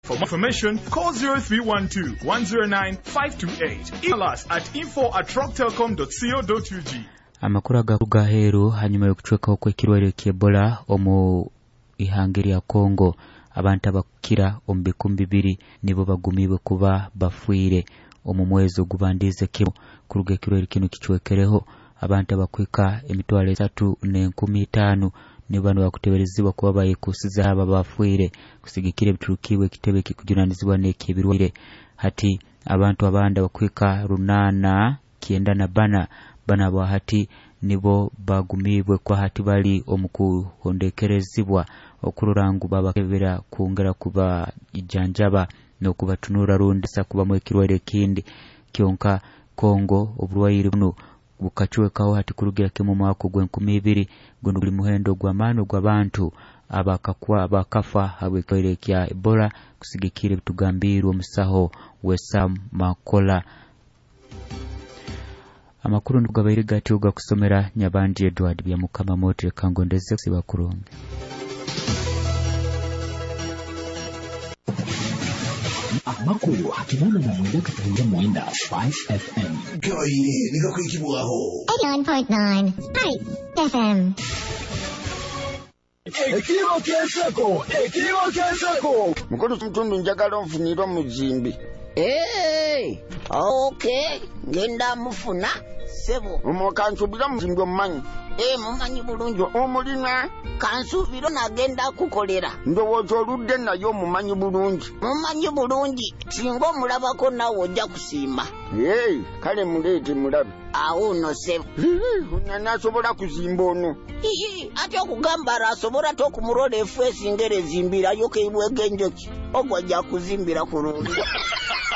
For more information, call 0312 109 528. Email us at info@rocktelcom.co.ug. Amakuru agakuruga aheeru hanyuma y'okucwekaho kw'ekirwaire ky'Ebola omu ihanga erya Congo, abantu abakukira omu 2000 nibo bagumiibwe kuba bafiire omu mwezi ogubandiize kimu kuruga ekirwaire kinu kicwekereho. Abantu abakuhika 305,000 nibo banu bakuteberezibwa kuba bayekusize abo abafiire kusigikira ebiturukiibwe ekitebe ekikujunanizibwa n'eky'ebirwaire. Hati abantu abandi abakuhika 894 banu abo hati nibo bagumiibwe kuba hati bali omu kuhondekerezibwa okurora ngu babakebera kwongera kubajanjaba n'okubatunura rundi sa kubamu ekirwaire ekindi. Kyonka Kongo oburwaire bunu bukacwekaho hati kurugira kimu omwaka ogw'enkumi ibiri, guno guli muhendo gw'amaani ogw'abantu abakafa habw'ekirwaire kya Ebola kusigikira ebitugambiirwe omusaho Wesam Makola. Amakuru nikugabaire gatyo gakusomera Nyabandi Edward Byamukama Motre kangondeze kusiba kurungi. Amakuru hakinana na mwenda katahira mwenda 5 FM. Gabaire nigakwikibwaho. 89.9 FM. Ekiro ky'enseko, ekiro ky'enseko. Mukulu Mutundu njagala onfunire omuzimbi. Hey, okay, ngenda mufuna sebo. Omo kansuubira muzimbi omumanyi. Mumanyi bulungi. Omulina? Kansuubira nagenda kukolera. Ndowooza oludde naye omumanyi bulungi. Mumanyi bulungi, singa omulabako naawe ojja kusiima. Hey, kale muleete mulabe. Awo nno sebo. Nasobola kuzimba ono. Iye, ate okugamba arasobola t'okumurola efu esinga erezimbirayo keibwega enjoki. Ogwo ajja kuzimbira kurungi.